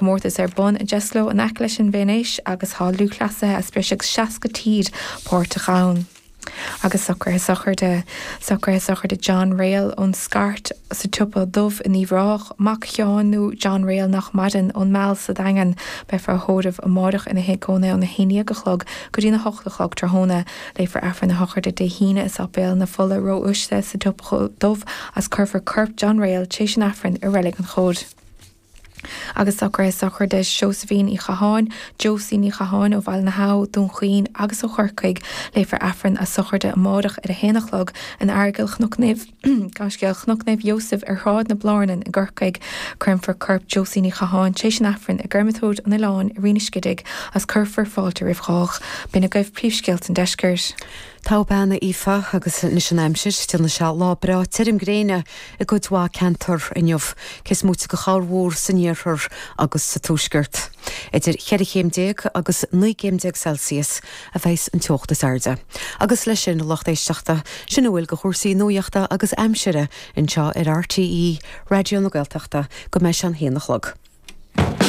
comórtas ar bun i nDeslo in aice leis an Veinéis agus tá lúthchleasaithe as breis agus 60 tír páirteach ann. Agus socruithe sochraide. Socruithe sochraide John Réal ón Scairt sa tSiopa Dubh in Uíbh Ráthach, mac Sheáin nó John Réal nach maireann, ón Meal sa Daingean. Beifear á thórramh amáireach ina thigh cónaithe óna 11 a chlog go dtína 8 a chlog tráthnóna. Léifear Aifreann a shochraide Dé hAoine i Sáipéal na Fola Róuaisle sa tSiopa Dubh agus cuirfear corp John Réal tar éis an Aifrinn i Reilig an Chóid. Agus socruithe sochraide Seosaimhín Uí Chatháin, Josie Ní Chatháin ó Bhaile na hAbha, Dún Chaoin agus ó Chorcaigh. Léifear Aifreann a sochraide amáireach ar a haon a chlog in Aireagal Chnoc Naomh Gaiscéal Chnoc Naomh Iósaef ar Shráid na Blárnan i gCorcaigh. Créamfar corp Josie Ní Chatháin tar éis an Aifrinn i gCreamatóir an Oileáin i Rinn an Scidigh agus cuirfear fáilte roimh chách. B'in agaibh príomhscéalta an deiscirt. Togha bean, a Aoife, agus anois an aimsir, déanfaidh sé lá breá tirim gréine i gcuid mhaith ceantar inniu, cé is móite de chorrmhúr san iarthar agus sa tuaisceart. Idir cheithre chéim déag agus 19 gcéim Celsius a bheas an teocht is airde. Agus leis sin, a lucht éisteachta, sin a bhfuil de chúrsaí nuachta agus aimsire anseo ar RTÉ Raidió na Gaeltachta go mbeidh sé an haon a chlog.